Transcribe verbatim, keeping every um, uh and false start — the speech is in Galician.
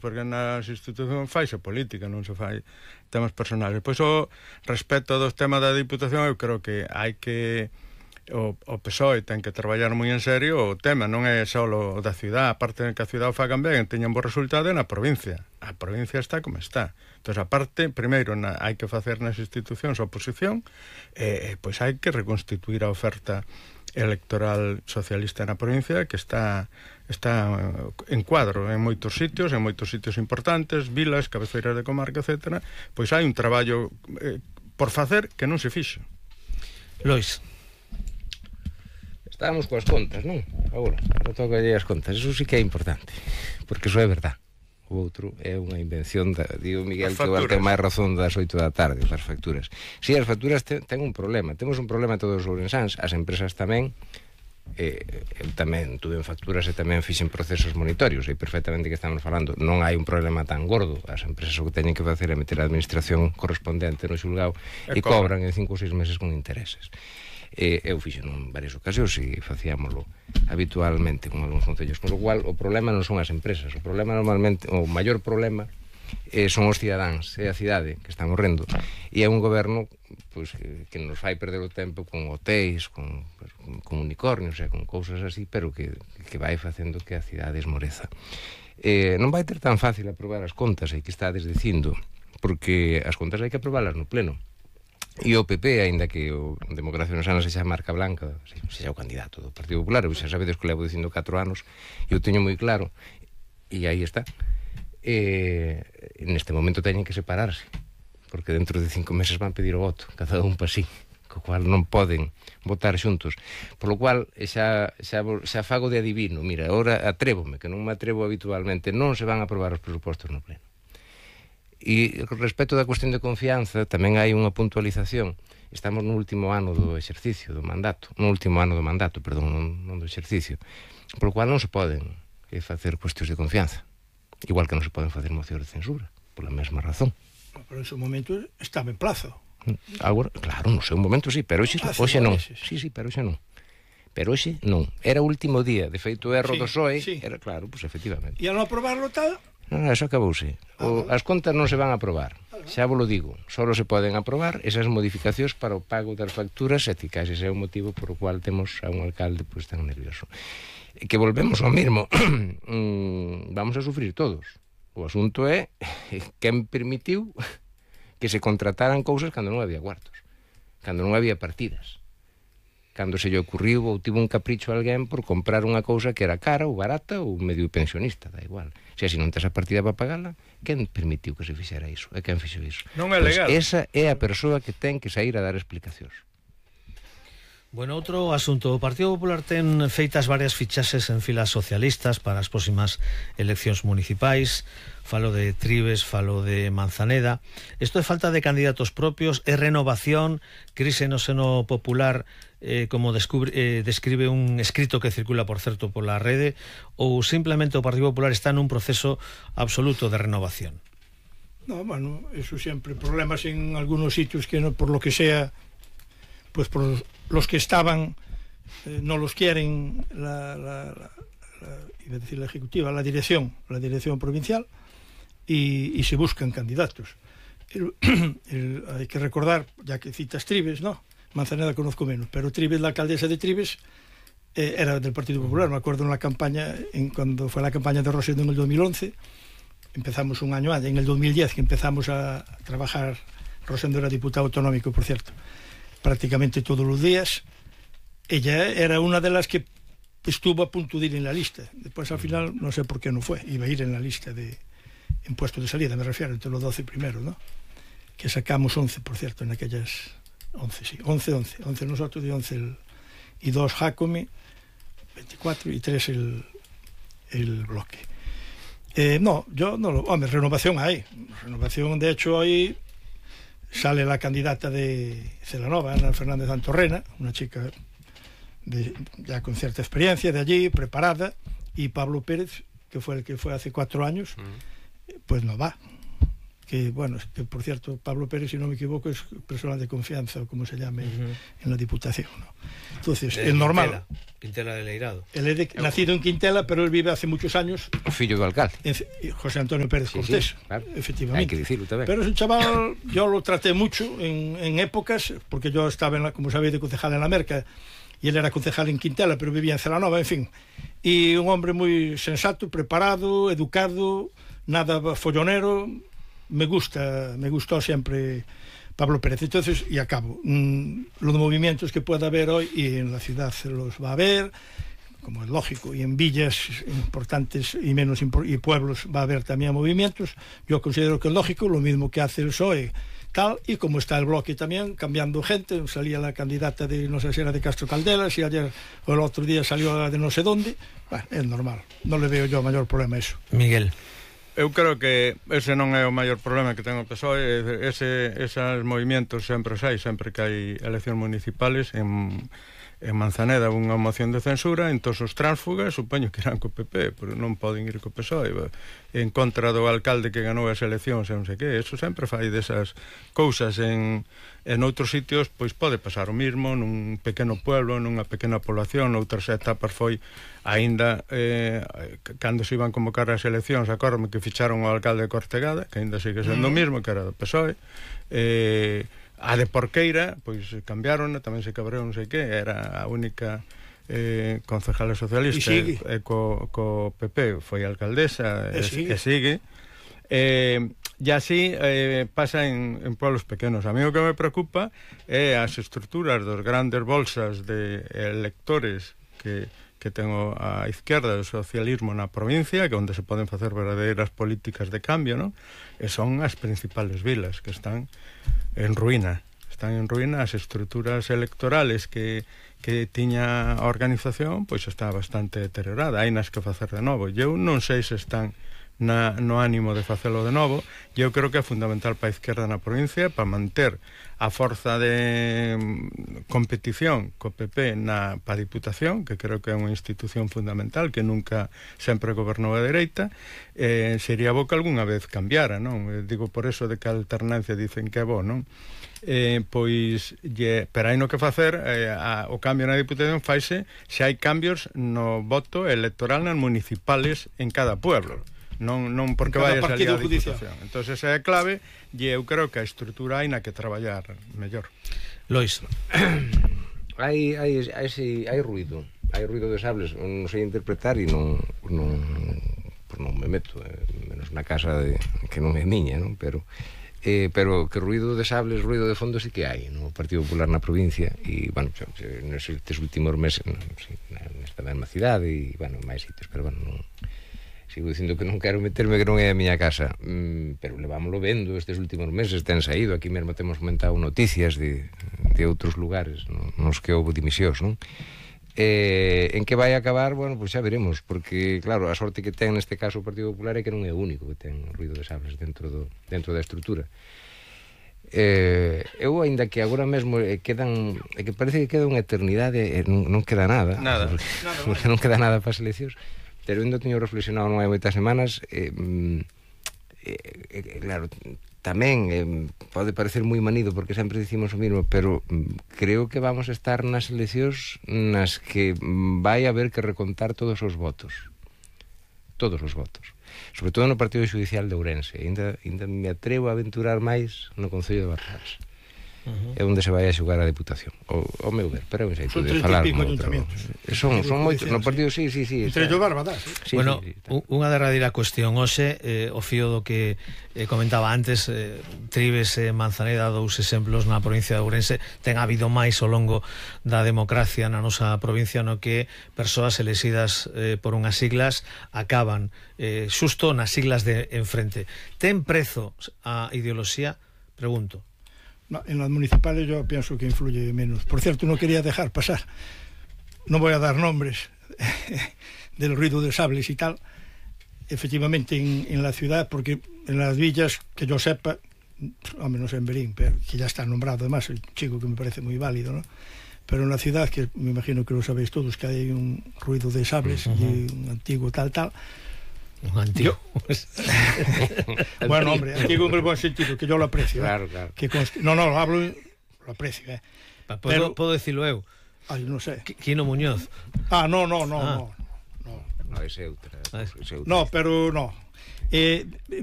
porque nas institucións faise política, non se fai temas personales. Pois o respecto dos temas da Diputación, eu creo que hai que o, o P S O E ten que traballar moi en serio. O tema non é só o da ciudad, aparte de que a ciudad o fagan ben e teñan bo resultado, na provincia. A provincia está como está. Entón, aparte, primeiro na, hai que facer nas institucións a oposición, e eh, pois hai que reconstituir a oferta electoral socialista na provincia, que está está en cuadro en moitos sitios, en moitos sitios importantes, vilas, cabeceiras de comarca, etcétera. Pois hai un traballo eh, por facer que non se fixo. Lois. Estábamos coas contas, non? Agora, agora toca as contas. Eso sí que é importante, porque eso é verdad. O outro é unha invención da, digo Miguel, que igual ten máis razón das oito da tarde, das facturas. Si, as facturas ten, ten un problema. Temos un problema todos os ourensáns, as empresas tamén. Eh, eu tamén tuve en facturas e tamén fixen procesos monitorios, e perfectamente que estamos falando. Non hai un problema tan gordo. As empresas o que teñen que facer é meter a administración correspondente no xulgado e, e cobran en cinco ou seis meses con intereses. Eh, eu fixen en varias ocasións e facíamoslo habitualmente con algúns concellos, con lo cual o problema non son as empresas, o problema normalmente, o maior problema eh, son os cidadáns, é a cidade que está morrendo, e é un goberno pues, que nos fai perder o tempo con hotéis, con, pues, con, con unicornios, e con cousas así, pero que, que vai facendo que a cidade esmoreza. Eh, non vai ter tan fácil aprobar as contas, aí que estades dicindo, porque as contas hai que aprobalas no pleno. E o P P, aínda que o Democracia Ourensana se xa marca blanca, se xa o candidato do Partido Popular, e xa sabedes que levo dicindo catro anos, eu teño moi claro, e aí está. E, neste momento teñen que separarse, porque dentro de cinco meses van pedir o voto, cada un pa sí, co cual non poden votar xuntos. Por lo cual, xa, xa, xa fago de adivino, mira, agora atrévome, que non me atrevo habitualmente, non se van a aprobar os presupostos no pleno. E respecto da cuestión de confianza, tamén hai unha puntualización. Estamos no último ano do exercicio do mandato, no último ano do mandato, perdón, non, non do exercicio, por lo cual non se poden eh, facer cuestións de confianza, igual que non se poden facer mocións de censura, pola mesma razón. Pero en ese momento estaba en plazo. Agora, claro, no seu momento sí, pero hoxe, hoxe non. Sí, sí, pero hoxe non. Pero hoxe non. Era o último día, de feito o erro sí, do P S O E, sí. Era claro, pois pues, efectivamente. E ao non aprobarlo tal... Non, non, eso acabouse. O, as contas non se van a aprobar. Xa vos lo digo, só se poden aprobar esas modificacións para o pago das facturas, e case ese é o motivo por o cual temos a un alcalde pues, tan nervioso. E que volvemos ao mesmo. Vamos a sufrir todos. O asunto é quen permitiu que se contrataran cousas cando non había cuartos, cando non había partidas, cando se lle ocurriu ou tivo un capricho a alguén por comprar unha cousa que era cara ou barata ou medio pensionista, da igual. Se así non tes a partida para pagala, quen permitiu que se fixera iso? E quen fixo iso? Non é legal. Pues esa é a persoa que ten que sair a dar explicacións. Bueno, outro asunto. O Partido Popular ten feitas varias fichaxes en filas socialistas para as próximas eleccións municipais. Falo de Trives, falo de Manzaneda. Isto é falta de candidatos propios, é renovación, crise no seno popular, eh, como descubre, eh, describe un escrito que circula, por certo, pola rede, ou simplemente o Partido Popular está nun proceso absoluto de renovación? No, bueno, eso siempre problemas en algunos sitios que no, por lo que sea, pues por los que estaban eh, no los quieren la, la, la, la, iba a decir la ejecutiva, la dirección, la dirección provincial, y, y se buscan candidatos. El, el, hay que recordar, ya que citas Trives, ¿no? Manzaneda conozco menos, pero Trives, la alcaldesa de Trives, eh, era del Partido Popular. Me acuerdo en la campaña, en cuando fue la campaña de Rosendo en el dos mil once, empezamos un año antes, en el dos mil diez que empezamos a, a trabajar. Rosendo era diputado autonómico, por cierto, prácticamente todos los días. Ella era una de las que estuvo a punto de ir en la lista. Después al final no sé por qué no fue, iba a ir en la lista de en puestos de salida, me refiero, entre los doce primeros, ¿no? Que sacamos once, por cierto, en aquellas once, sí, once, once, once nosotros y once el, y dos Jacome, veinticuatro y tres el, el bloque. Eh, no, yo no lo, hombre, renovación hay, renovación, de hecho hoy sale la candidata de Celanova, Ana Fernández Antorrena, una chica de, ya con cierta experiencia de allí, preparada, y Pablo Pérez, que fue el que fue hace cuatro años, mm. pues no va. que, bueno, que por cierto, Pablo Pérez, si no me equivoco, es personal de confianza, o como se llame, uh-huh. en la Diputación, ¿no? Entonces, es normal. Quintela, Quintela de Leirado. Él es de, nacido en Quintela, pero él vive hace muchos años. O fillo do alcalde. En, José Antonio Pérez sí, Cortés, sí, claro. Efectivamente. Hay que decirlo también. Pero ese chaval, yo lo traté mucho en, en épocas, porque yo estaba, en la, como sabéis, de concejal en la Merca, y él era concejal en Quintela, pero vivía en Celanova, en fin. Y un hombre muy sensato, preparado, educado, nada follonero. Me gusta, me gustó siempre Pablo Pérez. Entonces, y acabo, mmm, los movimientos que pueda haber hoy, y en la ciudad los va a haber, como es lógico, y en villas importantes y menos impor y pueblos va a haber también movimientos. Yo considero que es lógico, lo mismo que hace el P S O E, tal, y como está el bloque también, cambiando gente. Salía la candidata de, no sé si era de Castro Caldelas, y ayer o el otro día salió la de no sé dónde. Bueno, es normal, non le veo yo mayor problema a eso. Miguel. Eu creo que ese non é o maior problema que ten o P S O E. Ese, esos movimentos sempre sai, sempre que hai eleccións municipales. En, en Manzaneda unha moción de censura, en todos os tránsfugas supoño que irán co P P, pero non poden ir co P S O E en contra do alcalde que ganou as eleccións e non sei que. Eso sempre fai desas cousas. En, en outros sitios pois pode pasar o mismo, nun pequeno pueblo, nunha pequena población. Noutras etapas foi aínda eh, cando se iban convocar as eleccións, acórdome que ficharon o alcalde de Cortegada, que aínda sigue sendo o mismo, que era do P S O E. eh, a de Porqueira pois cambiaron, tamén se cabreou non sei que, era a única eh, concejala socialista, e, e co, co P P foi alcaldesa e, e sigue, e sigue. Eh, e así eh, pasa en, en pueblos pequenos. A mí o que me preocupa é as estruturas dos grandes bolsas de electores que que ten a izquierda do socialismo na provincia, que onde se poden facer verdadeiras políticas de cambio, non? E son as principales vilas que están en ruína. Están en ruína. As estruturas electorales que, que tiña a organización, pois está bastante deteriorada. Hai nas que facer de novo. Eu non sei se están na, no ánimo de facelo de novo. Eu creo que é fundamental para a izquierda na provincia, para manter a forza de competición co P P na pa Diputación, que creo que é unha institución fundamental que nunca sempre gobernou a dereita. Eh, sería bo que algunha vez cambiara, non? Eh, digo por eso de que a alternancia dicen que é bo, non? Eh, pois lle, pero hai no que facer eh, a, o cambio na Diputación faise se hai cambios no voto electoral nas municipales en cada pueblo. Non, non porque vai a salir a Diputación. Entón esa é a clave, e eu creo que a estrutura hai na que traballar mellor. Lois. hai, hai, hai, hai ruido, hai ruido de sables, non sei interpretar e non, non, pues non me meto, eh, menos na casa de, que non é miña, non? Pero, eh, pero que ruido de sables, ruido de fondo sí que hai no Partido Popular na provincia. E, bueno, nestes últimos meses, no, sí, nesta mesma cidade e, bueno, máis sitios, pero, bueno, non... Sigo dicindo que non quero meterme, que non é a miña casa, mm, pero levámoslo vendo estes últimos meses, ten saído, aquí mesmo temos comentado noticias de, de outros lugares no, nos que houve dimisións, non? Eh, en que vai acabar, bueno, pois xa veremos, porque, claro, a sorte que ten neste caso o Partido Popular é que non é o único que ten ruido de sables dentro, do, dentro da estrutura. Eh, eu, ainda que agora mesmo eh, quedan, é que parece que queda unha eternidade, eh, non, non queda nada, nada. Porque, nada porque non queda nada para as eleccións. Pero ainda teño reflexionado non hai moitas semanas, eh, eh, eh, claro, tamén eh, pode parecer moi manido porque sempre dicimos o mismo, pero mm, creo que vamos a estar nas eleccións nas que vai haber que recontar todos os votos, todos os votos, sobre todo no Partido Judicial de Ourense. Ainda, ainda me atrevo a aventurar máis no Concello de Barradas. Uh-huh. É onde se vai a xogar a Diputación, o, o meu ver, pero é un xeito de falar no outro. Son, son moitos, no partido, sí, sí, sí. Entre yo Barbadas, eh? Sí, bueno, sí, sí, unha derradeira cuestión hoxe, eh, o fío do que eh, comentaba antes, eh, Trives e eh, Manzaneda, dous exemplos na provincia de Ourense. Ten habido máis ao longo da democracia na nosa provincia no que persoas elexidas eh, por unhas siglas acaban eh, xusto nas siglas de enfrente. Ten prezo a ideoloxía? Pregunto. No, en las municipales yo pienso que influye menos. Por cierto, no quería dejar pasar, no voy a dar nombres del ruido de sables y tal, efectivamente en, en la ciudad, porque en las villas, que yo sepa, al menos en Berín, pero que ya está nombrado además, el chico que me parece muy válido, ¿no? Pero en la ciudad, que me imagino que lo sabéis todos, que hay un ruido de sables, uh-huh, y un antiguo tal, tal, Un antiguo. Bueno, hombre, antiguo en el buen sentido, que yo lo aprecio. Claro, ¿eh? claro. Que const... No, no, lo hablo, lo aprecio. ¿eh? ¿Puedo, Pero... ¿Puedo decirlo eu? Ay, non sei. Quino Muñoz. Ah, no, no, no, Ah. no. No, No, ese é outra. Ah, Ese é outra. no pero no. Eh,